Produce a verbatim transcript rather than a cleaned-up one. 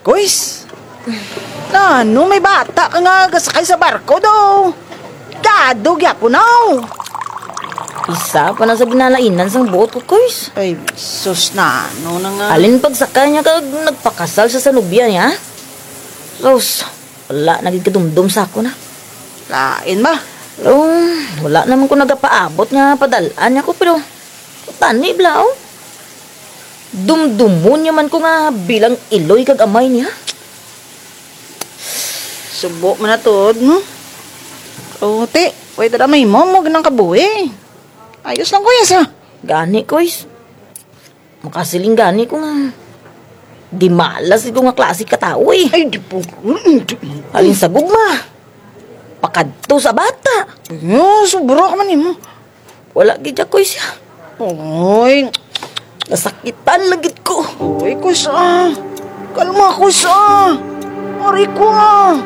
Kuys, nano may bata ka nga gasakay sa barko do? Dado gyapon, aw. Isa pa na sa ginalainan sang buot ko, Kuys. Ay, sus, nano na nga. Halin pagsakay niya kag nagpakasal sa sanubya niya. Sus, wala na gid kadumdom sa ako na. Lain ba? Pero wala naman ko nagapaabot nga padal-an niya ko, pero tani bala, oh. Dumdumon niya man ko nga bilang iloy kag amay niya. Subo man na tuod, no? O, ti, pwede ra may mo mo ginang kabuhi. Ayos lang, kuya, sa. Gani, Kuys. Makasiling gani ko nga di malas ko nga klase ka tawo, eh. Ay, di po. Mm, di- Halin sa gugma. Pakadto sa bata. Yo, sobra ka man, imo. Wala gid ako siya. Oy, nasakitan lagi ko. Oy, kusa. Kalma, kusa. Aray ko, ah.